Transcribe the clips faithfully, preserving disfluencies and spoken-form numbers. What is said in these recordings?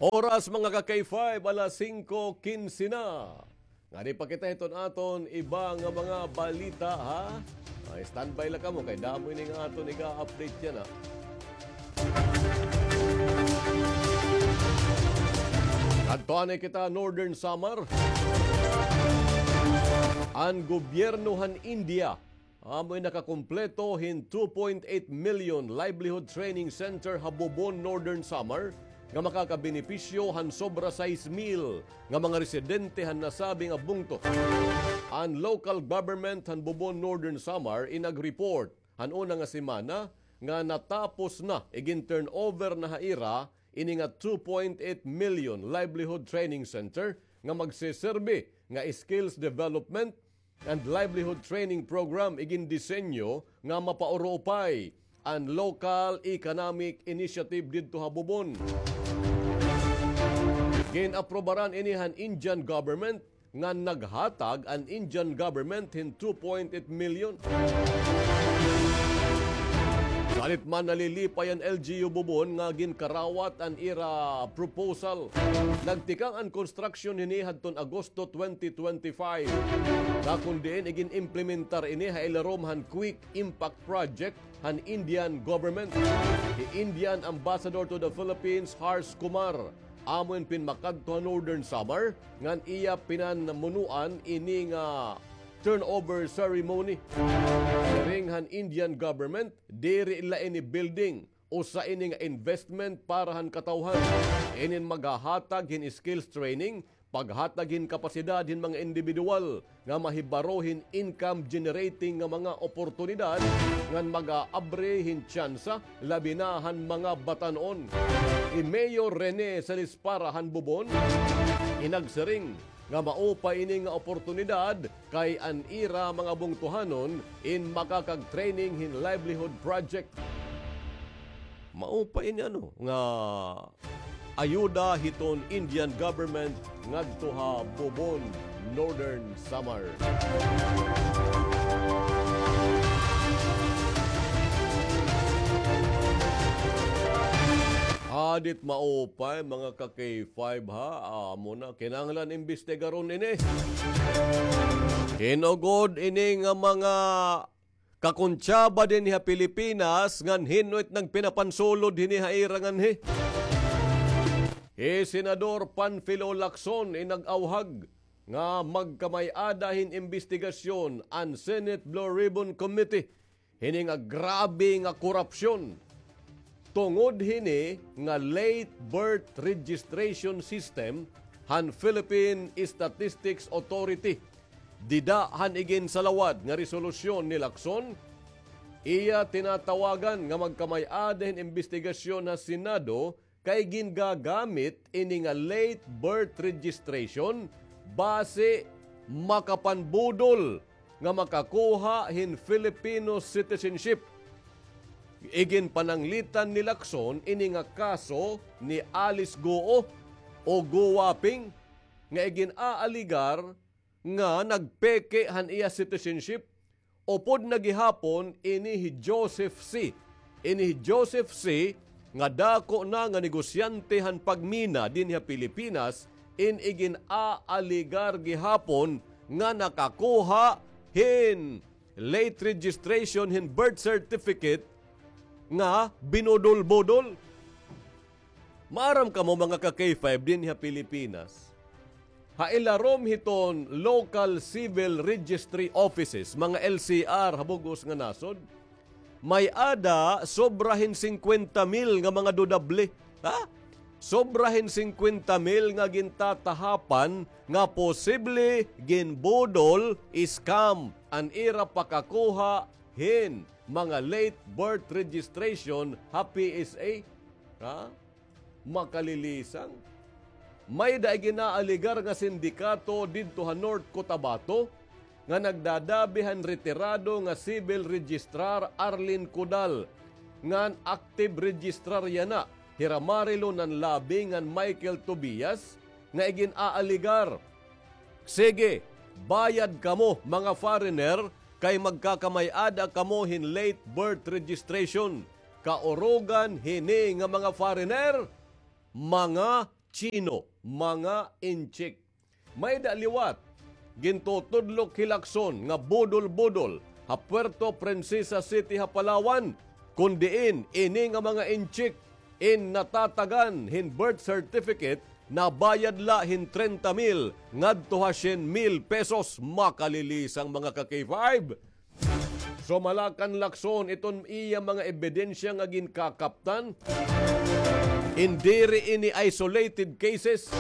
Oras, mga ka-K five, alas singko kinse na. Ngadi pa kita hiton aton iba nga mga balita, ha? Ay, standby la kamo kay damo ini nga aton iga-update yana, ha. Adto anay kita Northern Samar. An gobyerno han India amo in nakakumpleto hin two point eight million livelihood training center ha Bobon, Northern Samar, nga makakabenepisyo han sobra sais mil nga mga residente han nasabi nga bungto. An local government han Bobon, Northern Samar, in nag-report han una nga semana nga natapos na, igin-turnover na ha ira ini nga two point eight million livelihood training center nga magseserbi nga skills development and livelihood training program igin disenyo nga mapaurupay an local economic initiative didto ha Bobon. Gin-aprobaran ini han Indian government ngan naghatag an Indian government hin two point eight million. Salit man, nalilipay an L G U Bobon nga ginkarawat an ira proposal. Nagtikang an construction hini hadton Agosto twenty twenty-five. Nga kon diin igin-implementar ini ha ilarom han Quick Impact Project han Indian government. Hi Indian Ambassador to the Philippines, Harsh Kumar, amo in pinmakadto ha Northern Samar, ngan iya pinanmunoan ini nga turnover ceremony. Siring han Indian government, diri la ini building, usa ini nga investment para han katawhan. Inin maghahatag hin skills training, paghatag hin kapasidad hin mga indibidwal nga mahibaro hin income generating nga mga oportunidad ngan mag-aabri hin tsansa labi na han mga batan-on. Hi Mayor Rene Salispara han Bobon in nagsiring nga maupay ini nga oportunidad kay an ira mga bungtohanon in makakag-training hin livelihood project. Maupay ini, ano, nga ayuda hiton Indian government ngadto ha Bobon, Northern Samar. Hadit maupay, mga ka-K five, ha? Amo na, kinahanglan imbestigaron ini. Hin-o gud ini nga mga kakontsaba dinhi ha Pilipinas ngan hin-o it nagpinapansulod hini ha ira nganhi? Hi Senador Panfilo Lacson in nag-awhag nga magkamay-ada hin imbestigasyon an Senate Blue Ribbon Committee hini nga grabe nga korupsyon tungod hini nga late birth registration system han Philippine Statistics Authority. Dida han iginsalawad nga resolusyon ni Lacson, iya tinatawagan nga magkamay-ada hin imbestigasyon ha Senado kay gingagamit ini nga late birth registration basi makapanbudol nga makakuha hin Filipino citizenship. Iginpananglitan ni Lacson ini nga kaso ni Alice Goo o Goo Waping nga igin-aaligar nga nagpeke han iya citizenship. Upod na gihapon ini hi Joseph C. Ini hi Joseph C. nga dako na nga negosyante han pagmina dinhi ha Pilipinas, in igin-aaligar gihapon nga nakakuha hin late registration hin birth certificate nga binudol-budol. Maaram kamo, mga ka-K five, dinhi ha Pilipinas, ha ilarom hiton local civil registry offices, mga L C R ha bug-os nga nasod, may-ada sobra hin singkwenta mil nga mga dudable. Ha? Sobra hin singkwenta mil nga gintatahapan nga posible ginbudol, scam, an ira pakakuha hin mga late birth registration ha P S A. Ha? Makalilisang. May-ada igin-aaligar nga sindikato didto ha North Cotabato nga nagdadabi han retirado nga civil registrar Arlene Codal, ngan active registrar yana hi Ramarilo Nanlabi ngan Michael Tobias, nga igin-aaligar, "Sige, bayad kamo, mga foreigner, kay magkakamay-ada kamo hin late birth registration." Kaurugan hini nga mga foreigner, mga Chino, mga inchik. May-ada liwat gintutudlok hi Lacson nga budol-budol ha Puerto Princesa City ha Palawan, kun diin ini nga mga inchik in natatagan hin birth certificate, nabayad la hin trenta mil ngadto ha syen mil pesos. Makalilisang, mga ka-K five. Sumala kan Lacson iton iya mga ebidensya nga ginkakaptan. Diri ini isolated cases.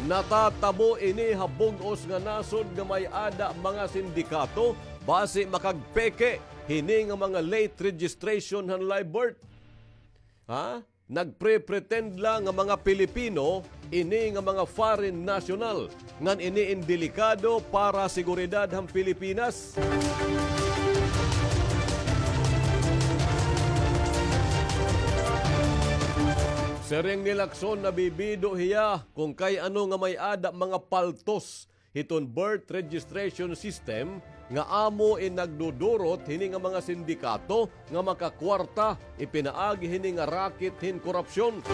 Natatabo ini ha bug-os nga nasod nga may-ada mga sindikato basi makagpeke hini nga mga late registration han live birth. Ha? Nagpre-pretend la nga mga Pilipino ini nga mga foreign national, ngan ini in delikado para seguridad han Pilipinas. Siring ni Lacson, nabibido hiya kon kay ano nga may-ada mga paltos hiton birth registration system nga amo in nagdudurot hini nga mga sindikato nga makakwarta ipinaagi hini nga racket hin korupsyon.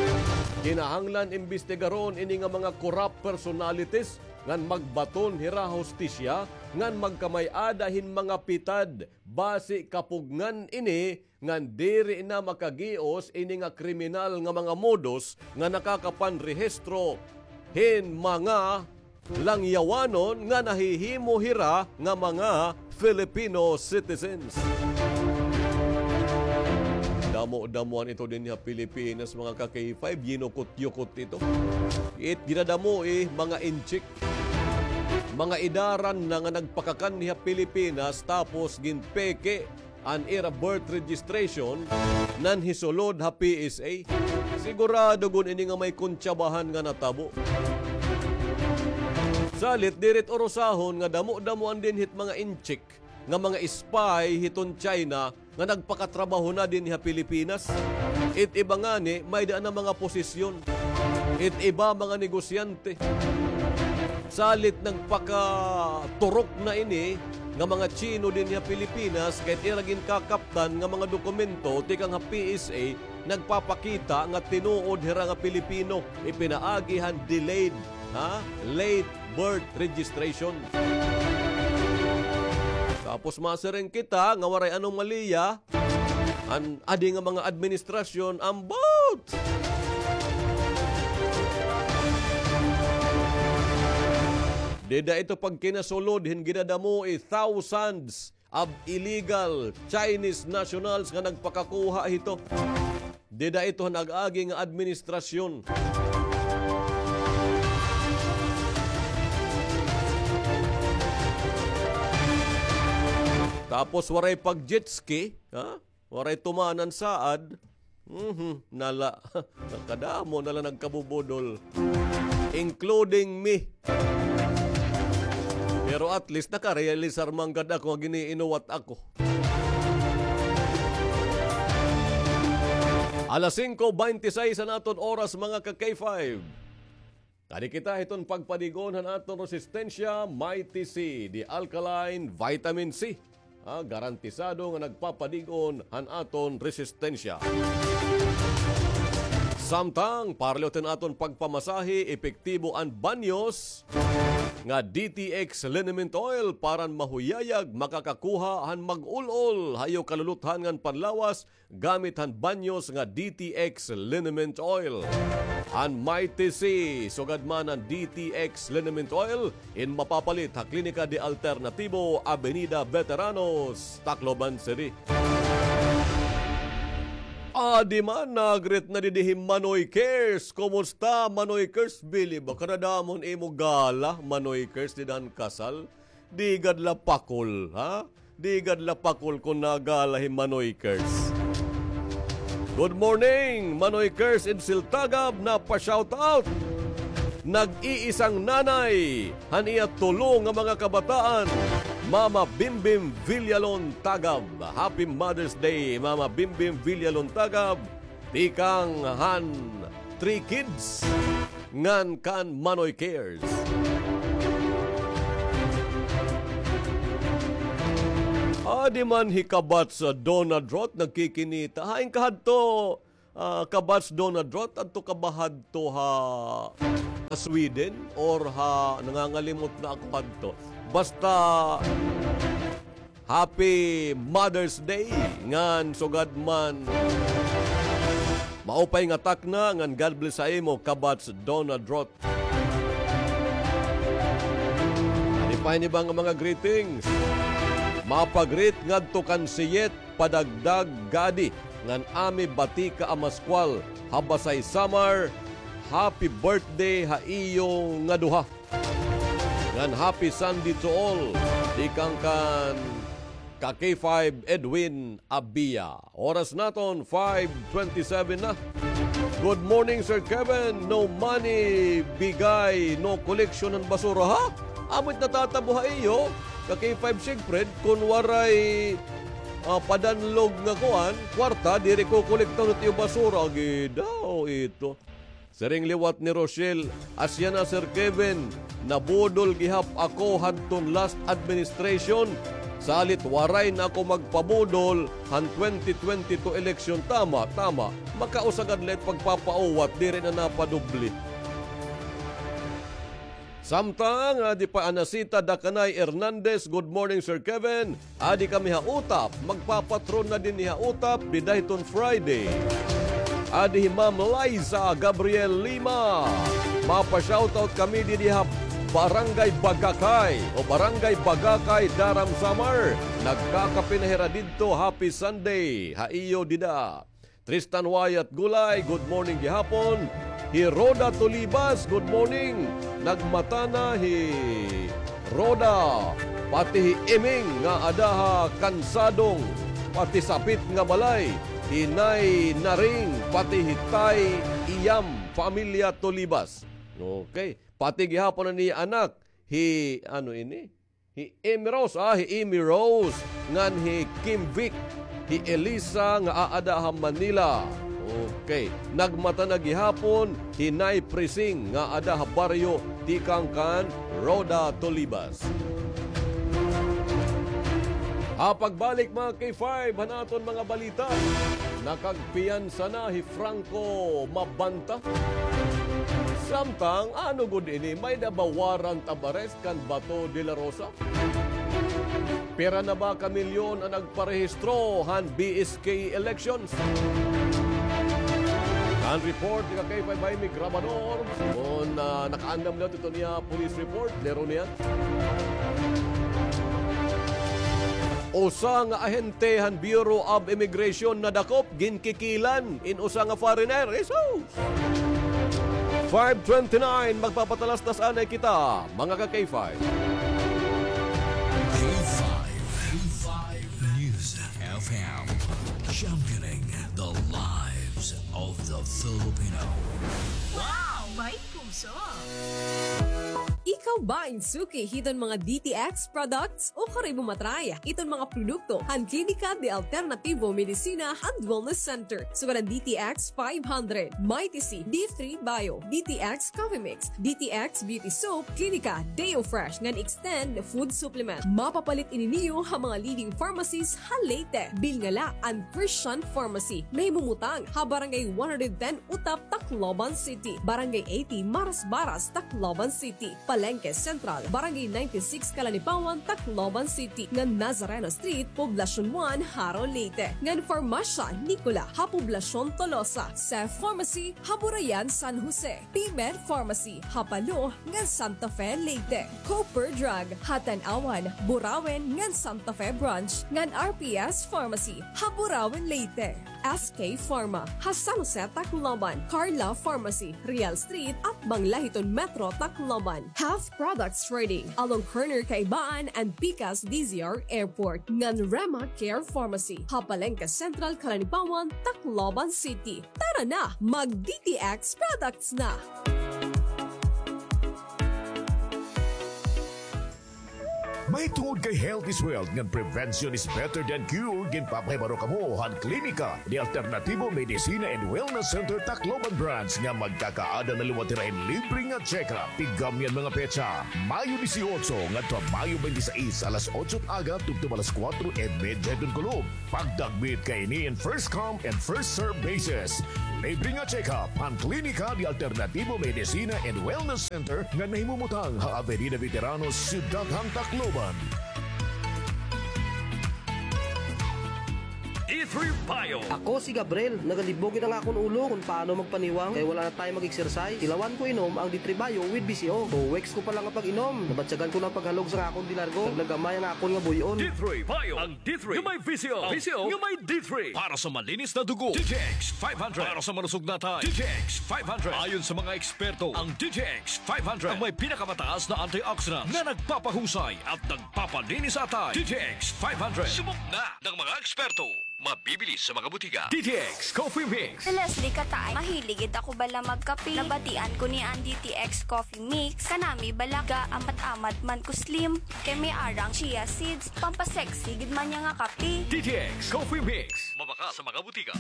Kinahanglan imbestigaron ini nga mga corrupt personalities ngan magbaton hira hustisya ngan magkamay-ada hin mga pitad basi kapugngan ini ngan diri na makagios ini nga kriminal nga mga modus nga nakakapanrehistro hin mga langyawanon nga nahihimo hira nga mga Filipino citizens. Damo-damoan ito dinhi ha Pilipinas, mga ka-K five, yinukot-yukot ito. It ginadamo, eh, mga inchik. Mga idaran na nga nagpakakanhi ha Pilipinas tapos ginpeke an ira birth registration nan hisulod ha P S A. Sigurado gud ini nga may kuntsabahan nga natabo. Salit diri't urusahon nga damo-damoan dinhi't mga inchik nga mga spy hiton China nga nagpakatrabaho na dinhi ha Pilipinas. It iba ngani, may-ada na mga posisyon. It iba, mga negosyante. Salit nagpakaturok na ini nga mga Chino dinhi ha Pilipinas, kay ira ginkakaptan nga mga dokumento tikang ha P S A nagpapakita nga tinuod hira nga Pilipino, ipinaagi han delayed, ha? Late birth registration. Tapos masiring kita nga waray anomalya an adi nga mga administrasyon, ambot! Dida ito pagkinasulod hin ginadamo, eh, thousands of illegal Chinese nationals nga nagpakakuha hito. Dida ito han ag-agi nga administrasyon. Tapos waray pag-jet ski, ha? Waray tumanan saad. Mhm, nala. Nakadamo na la nagkabubudol. Including me. Pero at least nakarealisar man gad ako nga gin-iinuwat ako. Alas singko bente seis an aton oras, mga ka-K five. Kadi kita hiton pagpadig-on han aton resistensya, Mighty C, the alkaline vitamin C. Ah, garantisado nga nagpapadig-on han aton resistensya. Samtang, parlot hin aton pagpamasahe, epektibo an Banyos nga D T X liniment oil para han mahuyayag makakakuha han mag-ul-ol ha iyo kaluluthan ngan panlawas, gamit han Banyos nga D T X liniment oil. An Mighty C, sugad man an D T X liniment oil, in mapapalit ha Klinika de Alternatibo, Avenida Veteranos, Tacloban City. Adi man, nag-greet na didi hi Manoy Cares. Kumusta, Manoy Cares? Bili ba kadadamo an imo gala, Manoy Cares, dida han kasal? Di gad la pakol, ha? Di gad la pakol kon nagala hi Manoy Kers. Good morning, Manoy Kers in Siltagab, napa-shoutout. Nag-iisang nanay han iya tulo nga mga kabataan, Mama Bimbim Villalon Tagab. Happy Mother's Day, Mama Bimbim Villalon Tagab. Tikang han Three Kids ngan kan Manoy Cares. Adi man hi Kabats Donna Drot nagkikinita. Hain ka hadto, Ah, Kabats Donald Roth, adto ka ba hadto ha Sweden or ha, nangangalimot na ako hadto. Basta, Happy Mother's Day ngan sugad man maupay nga takna ngan God bless sa imo, Kabats Donald Roth. Adi pa ini ba nga mga greetings? Mapa-greet ngadto kan Siyet Padagdag Gadi ngan Ami Batika Amascual ha Basay, Samar. Happy birthday ha iyo nga duha. Ngan happy Sunday to all. Tikang kan ka K five Edwin Abia. Oras naton, five twenty-seven na. Good morning, Sir Kevin. No money, bigay, no collection han basura, ha? Amo it natatabo ha iyo, ka K five Siegfried, kun waray, ah, padanlog nga kuan, kwarta, diri kokolekta it iyo basura. Agi daw ito. Siring liwat ni Rochelle, asya na, Sir Kevin, nabudol gihap ako hadton last administration. Salit waray na ako magpabudol han twenty twenty-two election. Tama, tama. Makausa gad la it pagpapauwat, diri na napadubli. Samtang, adi pa Anacita Dakanay Hernandez, good morning, Sir Kevin. Adi kami ha Utap, magpapatron na dinhi ha Utap dida hiton Friday. Adi hi Ma'am Liza Gabriel Lima. Mapa-shoutout kami didi ha Barangay Bagakay o Barangay Bagakay, Daram, Samar. Nagkakape na hira didto. Happy Sunday ha iyo dida. Tristan Wyatt Gulay, good morning gihapon. Hi Rhoda Tolibas, good morning. Nagmata na hi Rhoda, pati hi Iming nga ada ha Kansadong, pati sapit nga balay, hi Nay Naring, pati hi Tay Iyam, pamilya Tolibas. Okay. Pati gihapon an iya anak, hi, ano ini? Hi Amy Rose, ah, hi Amy Rose, ngan hi Kim Vic, hi Elisa nga aada ha Manila. Okay. Nagmata na gihapon hi Nay Prising nga ada ha baryo, tikang kan Rhoda Tolibas. Ha pagbalik, mga K five, han aton mga balita, nakagpiyansa na hi Franco Mabanta. Samtang, ano gud ini, may-ada ba warrant of arrest kan Bato de la Rosa? Pira na ba ka milyon an nagparehistro han B S K elections? An report ni ka K five Jaime Grabador, kun, ah, nakaandam liwat iton iya police report, lero niya. Usa nga ahente han Bureau of Immigration nadakop, ginkikilan in usa nga foreigner. Jesus! Five twenty-nine, magpapatalastas anay kita, mga ka K five. K five, K five News F M, championing the lives of the Filipino. Wow! May puso! Ikaw ba in suki hiton mga D T X products? O kari mo matry iton mga produkto han Klinika de Alternativo Medicina and Wellness Center. Sugad an D T X five hundred, Mighty C, D three Bio, D T X Coffee Mix, D T X Beauty Soap, Klinika Deo Fresh ngan Extend Food Supplement. Mapapalit ini niyo ha mga leading pharmacies ha Leyte. Bilngala an Christian Pharmacy, nahimumutang ha Barangay one hundred ten Utap, Tacloban City, Barangay eighty Marasbaras, Tacloban City, Palengke Central, Barangay ninety-six Calanipawan, Tacloban City, ngan Nazareno Street, Poblacion one, Jaro, Leyte, ngan Farmasya Nicola ha Poblacion Tolosa, Seth Pharmacy ha Burayan, San Jose, Pimer Pharmacy ha Palo ngan Santa Fe, Leyte, Cooper Drug ha Tanauan, Burauen ngan Santa Fe Branch, ngan R P S Pharmacy ha Burauen, Leyte. S K Pharma ha San Jose, Tacloban, Carla Pharmacy, Real Street, atbang la hiton Metro Tacloban, Health Products Trading along corner Kaibaan and Pikas D Z R Airport, ngan Rema Care Pharmacy ha Palengke Central, Calanipawan, Tacloban City. Tara na, mag D T X products na! Mahitungod kay health is wealth ngan prevention is better than cure, ginpapahibaro kamo han Klinika de Alternativo Medicina and Wellness Center Tacloban Branch nga magkakaada na liwat hira hin libre nga check-up. Tigam niyan mga petsa, Mayo dieciocho ngadto ha Mayo twenty-six, alas otso aga tubtob alas kuwatro y medya hiton kulop. Pagdagmit kay ini in first come and first serve basis. Libre nga check-up han Klinika de Alternativo Medicina and Wellness Center nga nahimumutang ha Avenida Veteranos, Syudad han Tacloban. D three Bio. Ako si Gabriel. Nagalibog gid an akon ulo kon paano magpaniwang kay wala na tayo mag-exercise. Tilawan ko inom ang D three Bio with V C O. Two weeks ko pa lang nga pag-inom, nabatyagan ko na an paghalog sa akon dilargo. Naglagamay ang akon nga buy-on. D three Bio. Ang D three nga may V C O. V C O nga may D three. Para sa malinis na dugo, D T X five hundred. Para sa malusog na atay, D T X five hundred. Ayon sa mga eksperto, ang D T X five hundred ang may pinakamataas na antioxidants na nagpapahusay at nagpapalinis sa atay. D T X five hundred. Subok na ng mga eksperto. Mabibili sa mga butika. D T X Coffee Mix. Si Leslie Kataay, mahilig gid ako bala magkape. Nabatian ko ni an D T X Coffee Mix. Kanami bala ga amat-amat man ko slim. Kay may arang chia seeds. Pampasexy gid man niya nga kape. D T X Coffee Mix. Mabakal sa mga butika.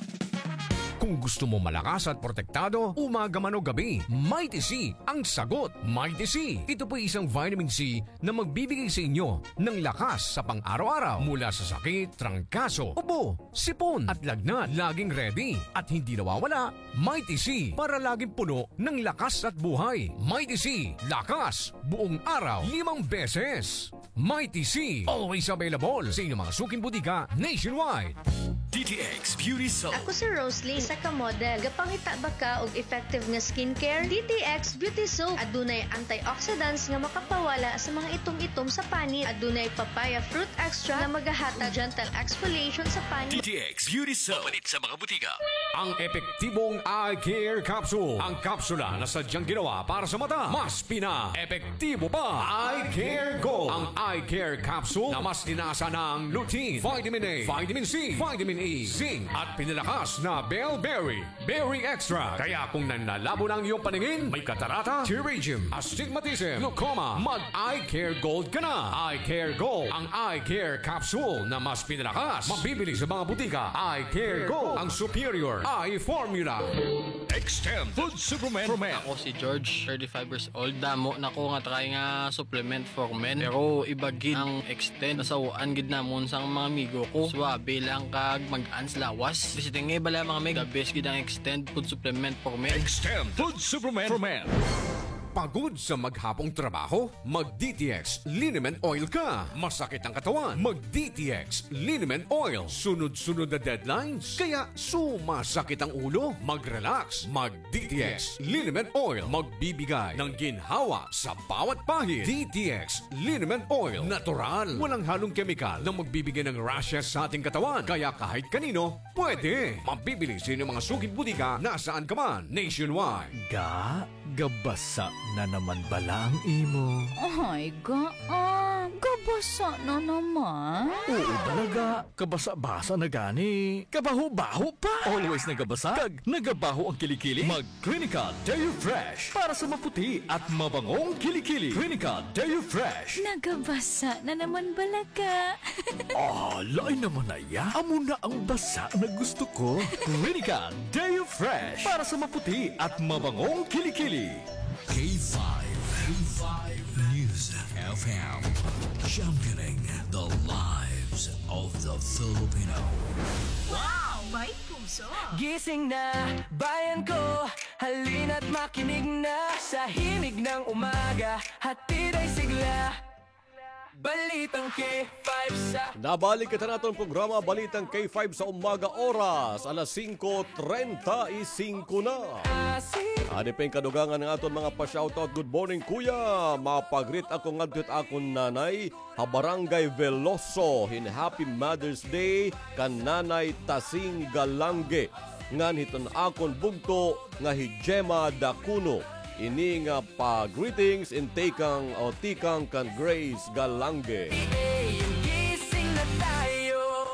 Kung gusto mo malakas at protektado, umaga man o gabi, Mighty C ang sagot. Mighty C. Ito po'y isang vitamin C na magbibigay sa inyo ng lakas sa pang-araw-araw, mula sa sakit, trangkaso, ubo, sipon, at lagnat. Laging ready at hindi nawawala, Mighty C, para laging puno ng lakas at buhay. Mighty C, lakas, buong araw, limang beses. Mighty C, always available sa inyong mga suking butika nationwide. D T X Beauty Soap. Ako si Roslyn, isa ka model. Gapangita ba ka og effective nga skincare? D T X Beauty Soap. Adunay antioxidants nga makapawala sa mga itom-itom sa panit. Adunay papaya fruit extract nga magahatag gentle exfoliation sa panit. D T X Beauty Soap. Mapalit sa mga butika. Ang epektibong eye care capsule. Ang kapsula na sadyang ginawa para sa mata. Mas pina-epektibo pa. Eye Care Gold. Ang Eye Care Capsule na mas tinasa ng lutein, vitamin A, vitamin C, vitamin E, zinc, at pinalakas na bell berry, berry extract. Kaya kung nanlalabo na ang iyong paningin, may katarata, pterygium, astigmatism, glaucoma, mag Eye Care Gold ka na. Eye Care Gold, ang Eye Care Capsule na mas pinalakas. Mabibili sa mga butika. Eye Care Gold, ang superior eye formula. Extend Food Supplement for Men. Ako si George, thirty-five years old. Damo na ko nga try nga supplement for men. Pero iba gid ang Extend. Nasaw-an gid namon sang mga amigo ko. Suwabe lang kag mag-ans lawas. Visiting nga bala, mga mig. The best gid ang Extend Food Supplement for Men. Extend Food Supplement for Men. Pagod sa maghapong trabaho? Mag D T X Liniment Oil ka. Masakit ang katawan? Mag D T X Liniment Oil. Sunod-sunod na deadlines? Kaya sumasakit ang ulo? Mag-relax. Mag D T X Liniment Oil. Magbibigay ng ginhawa sa bawat pahid. D T X Liniment Oil. Natural. Walang halong kemikal na magbibigay ng rashes sa ating katawan. Kaya kahit kanino, pwede. Mabibili sa inyong mga suking butika nasaan ka man, nationwide. Ga, gabasa na naman bala ang imo. Ay, ga, ah, gabasa na naman. Oo bala, ga, kabasa-basa na gani. Kabaho-baho pa. Always nagabasa. Kag nagabaho ang kilikili. Mag Clinical Deo Fresh para sa maputi at mabangong kilikili. Clinical Deo Fresh. Nagabasa na naman bala ka. Ah, lain naman na iya. Amo na ang basa na gusto ko. Clinical Deo Fresh para sa maputi at mabangong kilikili. K five, K five News F M. Championing the lives of the Filipino. Wow! May puso! Gising na, bayan ko! Halina't makinig na sa himig ng umaga. Hatid ay sigla. Balitang K five sa Nabalik kita naton programa, Balitang K five sa umaga, oras alas singko treinta y cinco na. Adi pa in kadugangan nga aton mga pa-shoutout. Good morning, kuya. Mapagreet ako ngadto it akon nanay ha Barangay Veloso hin Happy Mother's Day kan Nanay Tasing Galange, ngan hiton akon bugto nga hi Gemma Dacuno. Ini nga pa-greetings in tikang o tikang kan Grace Galange.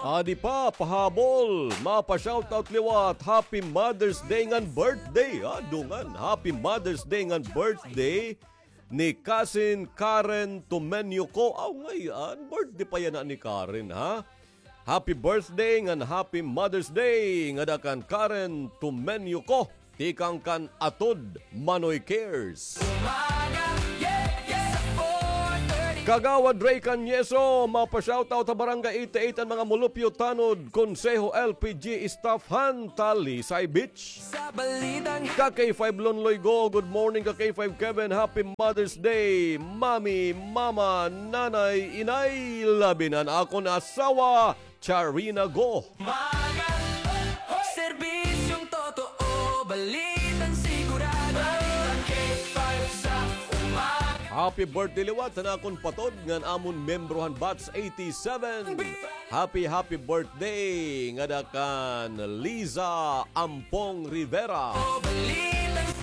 Adi pa, pahabol, mapa-shoutout liwat, Happy Mother's Day ngan birthday. Ah, dungan, Happy Mother's Day ngan birthday. ni Kasin Karen Tumenyo ko. Aw, ngay-an, birthday pa yana ni Karen, ha? Happy birthday ngan happy Mother's Day ngada kan Karen Tumenyo ko. Tikang kan Atod Manoy Cares. Kagawad Ray Cañeso, mapa-shoutout ha Barangay eighty-eight an mga mulupyo tanod, konseho, L P G staff han Talisay Beach. Ka K five Lonloy Go, good morning ka K five Kevin, happy Mother's Day, Mami, Mama, Nanay, Inay, labi na an akon asawa, Charina Go. Happy birthday liwat han akon patod ngan amon miyembro han Batch eighty-seven. Happy, happy birthday ngada kan Liza Ampong Rivera.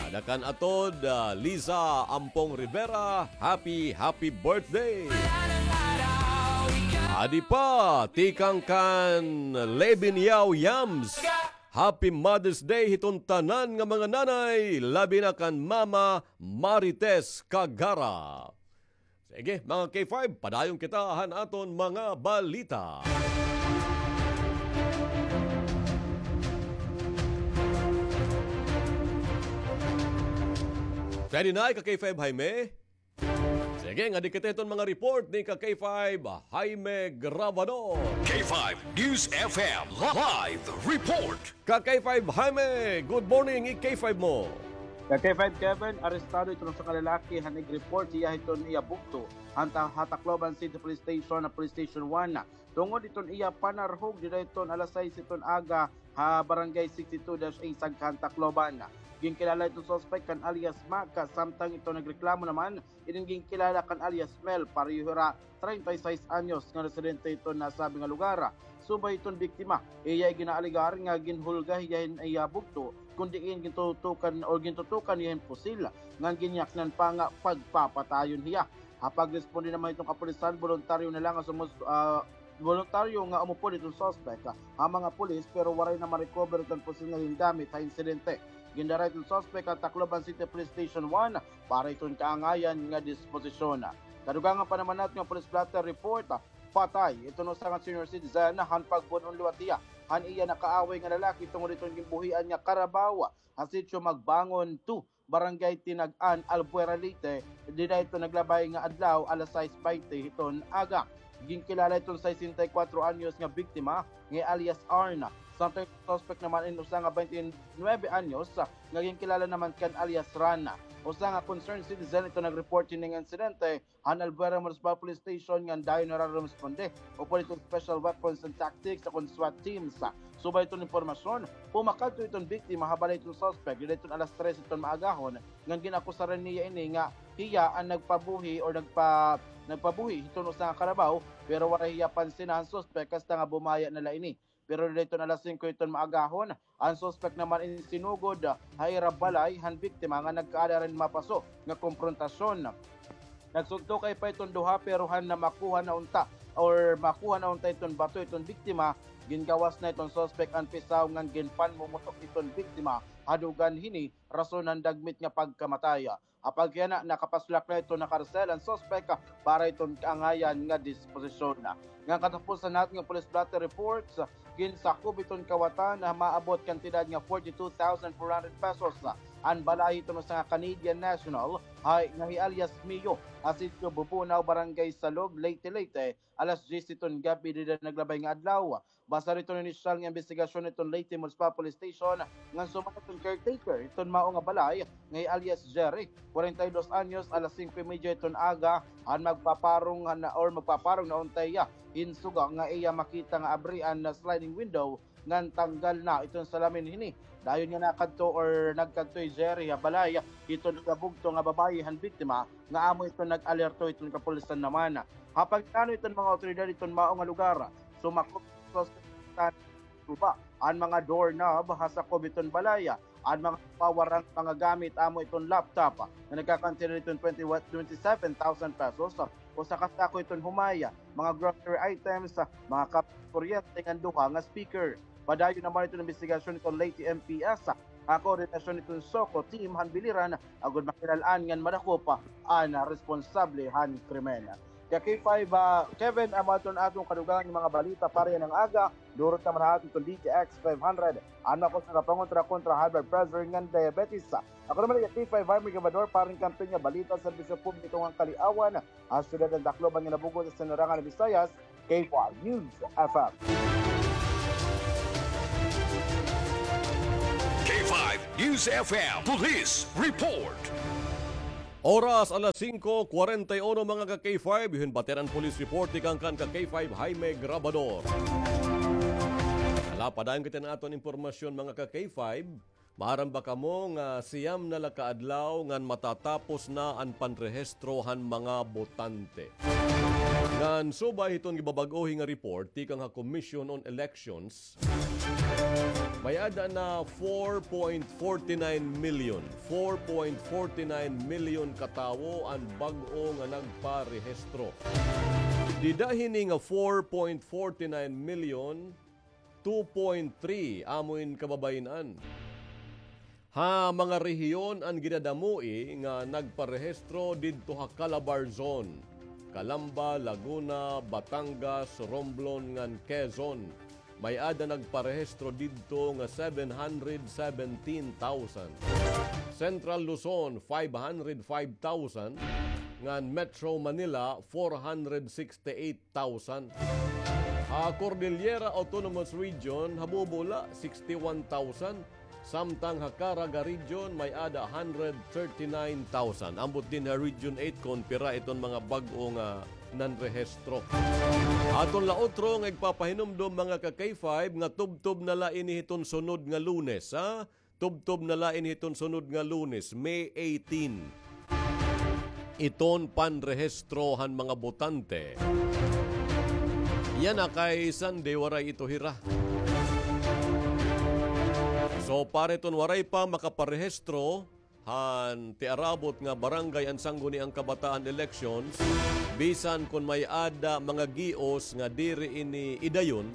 Ngada kan Atod, ah, Liza Ampong Rivera, happy, happy birthday. Adi pa, tikang kan Levin Yao Yams. Happy Mother's Day hiton tanan nga mga nanay, labi na kan Mama Marites Kagara. Sige, mga K five, padayon kita han aton mga balita. Pwede na, ka K five Jaime? Sige, ngadi kita hiton mga report ni ka K five Jaime Grabador. K five News F M live report. Ka K five Jaime, good morning, i-K five mo. Ka K five Kevin, arestado iton usa ka lalaki han ig-report hiya hiton iya bugto han ta-, ha Tacloban City Police Station, na Police Station one. Tungod iton iya panarhog dida iton alas sais iton aga ha Barangay sixty-two dash A Sagkan, Tacloban. Ginkilala iton suspect kan alias Maka, samtang iton nagreklamo naman inin ginkilala kan alias Mel, pareho hira treinta y seis anyos nga residente iton nasabi nga lugar. Subay iton biktima, iya iginaalegar nga ginhulga hiya hin iya bugto, kun diin gintutukan o gintutukan hiya hin pusil, ngan ginyaknan pa nga pagpapatayon hiya. Ha pagresponde naman iton kapulisan, boluntaryo na la nga sumus-, ah, boluntaryo nga umupod iton suspect ha mga pulis, pero waray na ma-recover iton pusil nga gingamit ha insidente. Gindara iton suspect ha Tacloban City Police Station one para iton kaangayan nga disposisyon. Kadugangan pa naman naton nga police blotter report, patay iton usa nga senior citizen han pagbun-on liwat hiya han iya nakaaway nga lalaki tungod iton ginbuhian nga karabaw ha Sitio Magbangon two, Barangay Tinag-an, Albuera, Leyte, dida iton naglabay nga adlaw, alas sais baynte hiton aga. Ginkilala iton sesenta y kuwatro anyos nga biktima nga alias Arn. Samtang suspect naman in usa nga baynte nuwebe anyos nga ginkilala naman kan alias Ran. Usa nga concerned citizen iton nag-report hining insidente han Albuera Municipal Police Station ngan dayon hira rumesponde upod iton Special Weapons and Tactics o kon SWAT teams. Subay iton impormasyon, pumakadto iton biktima ha balay iton suspect dida iton alas tres iton maagahon, ngan gin-akusaran niya ini nga hiya an nagpabuhi or nagpa-, nagpabuhi hiton usa nga karabaw, pero waray hiya pansina han suspect hasta nga bumaya na la ini. Pero dida iton alas singko iton maagahon, an suspect naman in sinugod ha ira balay han biktima nga nagkaada hin mapaso nga komprontasyon. Nagsugtokay pa iton duha, pero han namakuha na unta or makuha na unta iton bato iton biktima, gingawas na iton suspect an pisaw ngan ginpanmumutok iton biktima ha dugan hini rason han dagmit nga pagkamatay. Apagkiana, nakapasulak na iton ha karsel an suspek para iton kaangayan nga disposisyon. Ngan katapusan naton nga police blotter reports, ginsakob iton kawatan ha maabot kantidad nga forty-two thousand four hundred pesos an balahi iton usa nga Canadian national, hay, nga hi alias Mio, ha Sitio Bubunaw, Barangay Salog, Leyte, Leyte, alas diyes iton gab-i dida naglabay nga adlaw. Base hiton inisyal nga imbestigasyon hiton Leyte Municipal Police Station, ngan suman hiton caretaker hiton mao nga balay nga hi alias Jerry, kwarenta y dos anyos, alas singko y medya hiton aga, han magpaparong han, or magpaparong na unta hiya hin suga nga iya makita nga abrian na sliding window ngan tanggal na iton salamin hini. Dayon nga nakadto or nagkadto hi Jerry ha balay hiton iya bugto nga babaye han biktima, nga amo iton nag-alerto hiton kapulisan naman. Ha pagplano hiton mga awtoridad hiton mao nga lugar, sumakob iton suspek guba an mga doorknob ha sakob hiton balay, an mga pawarang mga gamit amo iton laptop nga nagkakantidad hiton twenty, twenty-seven thousand pesos, usa ka sako hiton humay, mga grocery items, mga kab-, kuryente ngan duha nga speaker. Padayon naman iton imbestigasyon hiton Leyte M P S koordinasyon hiton SOCO team han Biliran, agod makilal-an ngan madakop an responsable han krimen. Kay K five, ah, Kevin, amo adto an aton kadugangan nga mga balita para yana nga aga. Durot naman ha aton hiton D T X five hundred. Ano ako sa kapangontra kontra high blood pressure ngan diabetes? Ako naman kay K five Harvey Gabador para han kampiyon nga balita, serbisyo publiko ngan kaliawan ha syudad han Tacloban ngan ha bug-os nga Sinarangan han Visayas, K five News F M. K five News F M Police Report. Oras alas singko kwarenta y uno, mga ka-K five, iton batiran police report tikang kan ka-K five Jaime Grabador. Hala, padayon kita han aton impormasyon, mga ka-K five. Maaram ba kamo nga siyam na la ka adlaw ngan matatapos na an panrehistro han mga botante? Ngan subay hiton gibabag-ohi nga report tikang ha Commission on Elections, may-ada na four point forty-nine million, four point forty-nine million ka tawo an bag-o nga nagparehistro. Dida hini nga four point forty-nine million, two point three amo in kababayin-an ha mga rehiyon an ginadamoi nga nagparehistro didto ha Calabarzon, Calamba, Laguna, Batangas, Romblon ngan Quezon. May-ada nagparehistro didto nga seven hundred seventeen thousand. Central Luzon, five hundred five thousand, ngan Metro Manila, four hundred sixty-eight thousand. Ha Cordillera Autonomous Region, habubo la, sixty-one thousand. Samtang ha Caraga Region, may-ada hundred thirty-nine thousand. Ambot dinhi ha Region eight kon pira iton mga bag-o nga nanrehistro. Aton la utro nga igpapahinumdom, mga ka-K five, nga tubtob na la ini hiton sunod nga Lunes, ha? Tubtob na la ini hiton sunod nga Lunes, May eighteen, iton panrehistro han mga botante. Yana kay Sunday, waray ito hira. So, para iton waray pa makaparehistro han tiarabot nga barangay an Sangguniang Kabataan Elections, bisan kon may-ada mga gios nga diri ini idayon,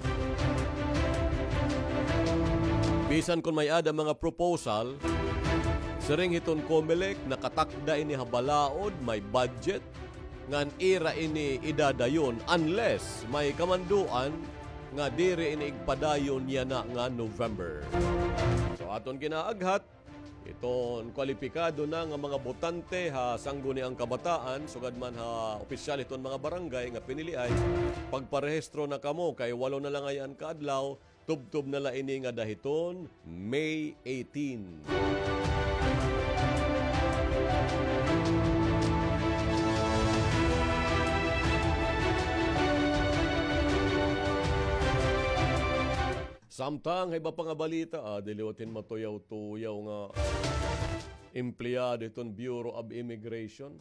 bisan kon may-ada mga proposal, siring hiton Comelec, nakatakda ini ha balaod, may budget, ngan ira ini idadayon unless may kamanduan nga diri ini igpadayon yana nga November. So, aton ginaaghat, iton kwalipikado na nga mga botante ha Sangguniang Kabataan, sugad man ha opisyal hiton mga barangay nga piniliay, pagparehistro na kamo kay walo na la ngay-an ka adlaw, tubtob na la ini ngada hiton May eighteen. Samtang ha iba pa nga balita, ah, dili liwat hin matuyaw-tuyaw nga empleyado hiton Bureau of Immigration.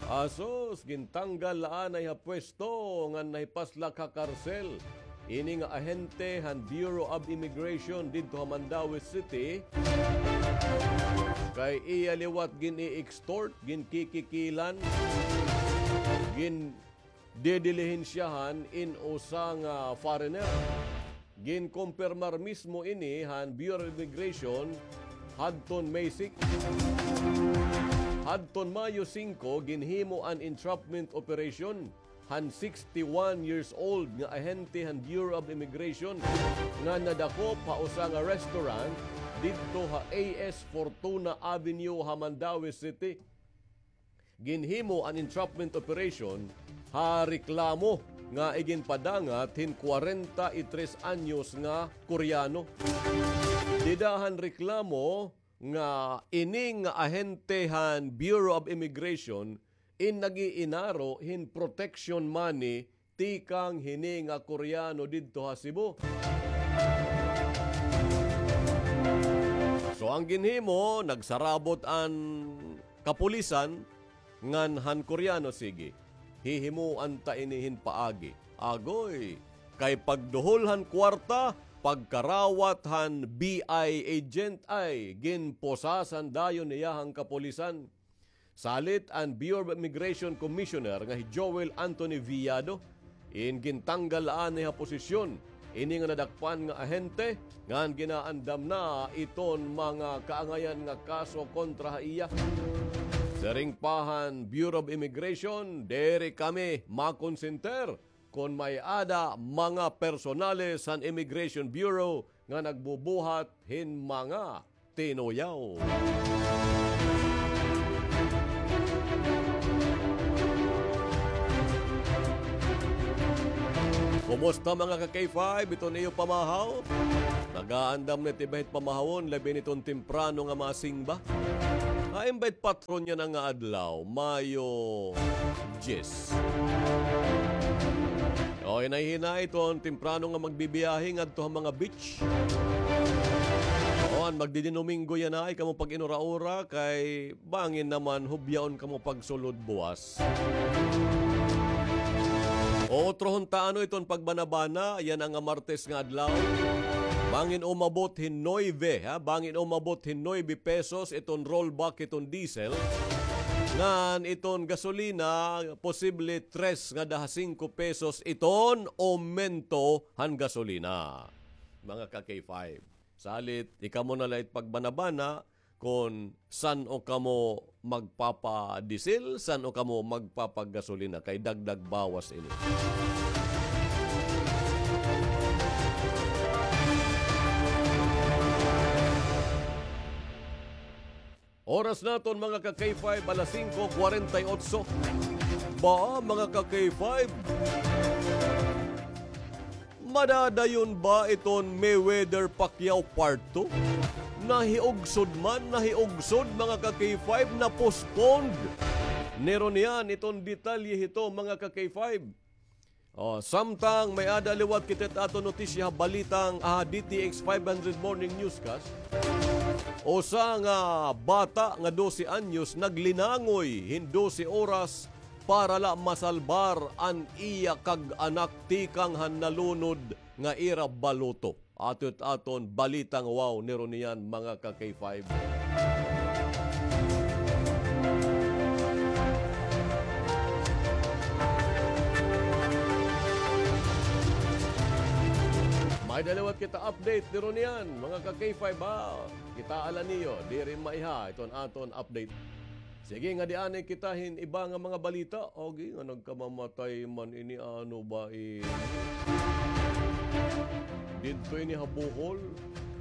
Asus, gintanggal la anay ha pwesto ngan nahipaslak ha karsel ini nga ahente han Bureau of Immigration didto ha Mandaue City. Kay iya liwat gin-i-extort, ginkikikilan, gin didilihinsyahan in usa nga foreigner. Ginkumpirmar mismo ini han Bureau of Immigration hadton May six. Hadton Mayo singko, ginhimo an entrapment operation han sixty-one years old nga ahente han Bureau of Immigration nga nadakop ha usa nga restaurant didto ha A S Fortuna Avenue ha Mandaue City. Ginhimo an entrapment operation ha reklamo nga iginpadangat hin kwarenta y tres anyos nga Koreano. Dida han reklamo nga ini nga ahente han Bureau of Immigration in nag-iinaro hin protection money tikang hini nga Koreano didto ha Cebu. So, an ginhimo, nagsarabot an kapulisan ngan han Koreano, sige, hihimuan ta ini hin paagi. Agoy, kay pagduhol han kwarta, pagkarawat han B I agent ay ginposasan dayon niya han kapulisan. Salit an Bureau of Immigration Commissioner nga hi Joel Anthony Viado, in gintanggal la anay ha posisyon ini nga nadakpan nga ahente ngan ginaandam na iton mga kaangayan nga kaso kontra ha iya. Siring pa han Bureau of Immigration, diri kami makonsintir kon may-ada mga personales han Immigration Bureau nga nagbubuhat hin mga tinuyaw. Kumusta, mga ka-K five? Iton iyo pamahaw? Nagaandam na it iba hit pamahawon, labi niton temprano nga masingba? Hain ba it patron yana nga adlaw, Mayo diyes. O, hinay-hinay iton temprano nga magbibiyahe ngadto ha mga beach. O, an magdidinominggo yana, ayaw kamo pag-inura-ura kay bangin naman hubyaon kamo pagsulod buwas. O, utrohon ta ano iton pagbanabana, yana nga Martes nga adlaw. Bangin umabot hin nuebe, ha? Bangin umabot hin nuebe pesos iton rollback iton diesel. Ngan iton gasolina, posible tres ngada ha singko pesos iton omento han gasolina. Mga ka-K five. Salit, ikamo na la it pagbanabana kon san-o kamo magpapadiesel, san-o kamo magpapagasolina, kay dagdag bawas ini. Oras naton, mga ka-K five, alas singko kwarenta y otso. Ba, mga ka-K five, madadayon ba iton Mayweather Pacquiao Part two? Nahiugsod man, nahiugsod, mga ka-K five, na-postponed. Niruniyan iton detalye hito, mga ka-K five. O, samtang may-ada liwat kita it aton notisya ha balitang, ah, D T X five hundred Morning Newscast. Usa nga bata nga dose anyos naglinangoy hin dose oras para la masalbar an iya kag-anak tikang han nalunod nga ira baluto. Ato it aton balitang wow niruniyan, mga ka-K five. May-ada liwat kita update niruniyan, mga ka-K five, ha. Kitaa la niyo, diri maiha iton aton update. Sige, ngadi anay kita hin iba nga mga balita. Agi nga nagkamamatay man ini, ano ba ini? Didto ini ha Bohol.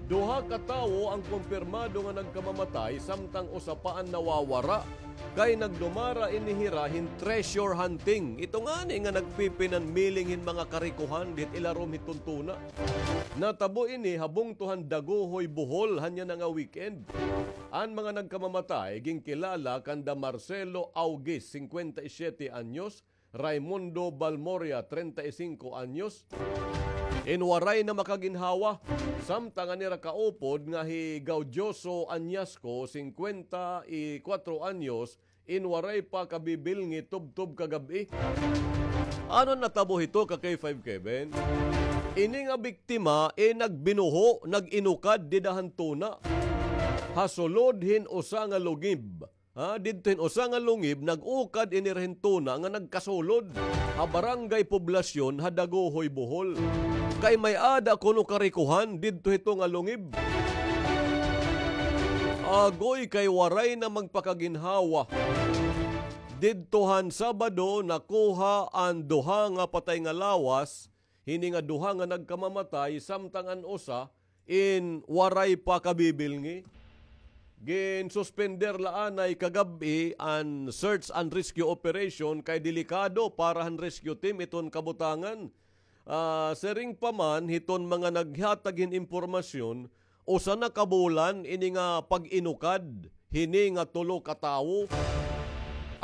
Duha ka tawo an kumpirmado nga nagkamamatay, samtang usa pa an nawawara. Kay nagdumara ini hira hin treasure hunting. Ito ngani nga nagpipinanmiling hin mga karikohan didto ha ilarom hiton tuna. Natabo ini ha bungto han Dagohoy, Bohol, han yana nga weekend. An mga nagkamamatay ginkilala kanda Marcelo Augis, singkwenta y siyete anyos, Raimundo Balmoria, treinta y cinco anyos, in waray na makaginhawa, samtang an ira kaupod nga hi Gaudioso Añasco, singkwenta y kwatro anyos, in waray pa kabibilngi tubtob kagab-i. Ano natabo hito, ka-K five Kevin? Ini nga biktima, eh, nagbinuho, nag-inukad dida han tuna ha sulod hin usa nga lungib. Ha, didto hin usa nga lungib, nag-ukad ini hira hin tuna nga nagkasulod ha Barangay Poblacion ha Dagohoy, Bohol. Kay may-ada kuno karikohan didto hito nga lungib. Agoy, kay waray na magpakaginhawa. Didto han Sabado, nakuha an duha nga patay nga lawas hini nga duha nga nagkamamatay, samtang an usa in waray pa kabibilngi. Ginsuspender la anay kagab-i an search and rescue operation kay delikado para han rescue team iton kabutangan. Ah, siring pa man hiton mga naghatag hin impormasyon, usa na ka bulan ini nga pag-inukad hini nga tulo ka tawo.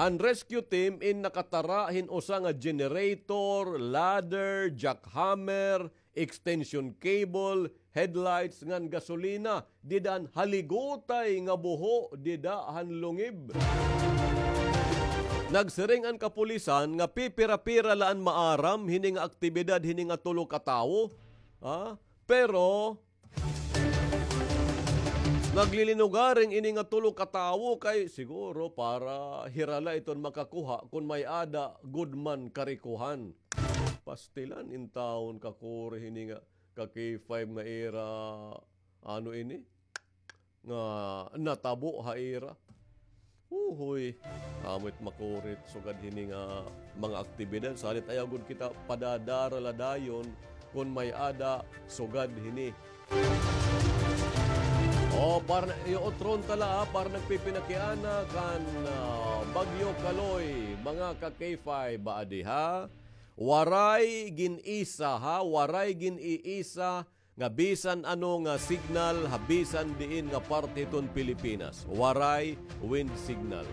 An rescue team in nakatara hin usa nga generator, ladder, jackhammer, extension cable, headlights ngan gasolina dida han haligutay nga buho dida han lungib. Nagsiring an kapulisan nga pipira-pira la an maaram hini nga aktibidad hini nga tulo ka tawo. Ha? Pero naglilinugaring ini nga tulo ka tawo kay siguro para hira la iton makakuha kon may-ada gud man karikohan. Pastilan intawon, kakuri, hini nga ka-K five nga ira, ano ini? Nga natabo ha ira. Uhoy, amo it makurit sugad hini nga mga aktibidad. Salit ayaw gud kita padadara la dayon kon may-ada sugad hini. O, para na, iyo, utron ta la, ha, para nagpipinakiana kan, ah, Bagyo Kaloy, mga ka-K five, ba, adi, ha? Waray gin-isa, ha? Waray gin-iisa nga bisan ano nga signal ha bisan diin nga parte hiton Pilipinas. Waray wind signal.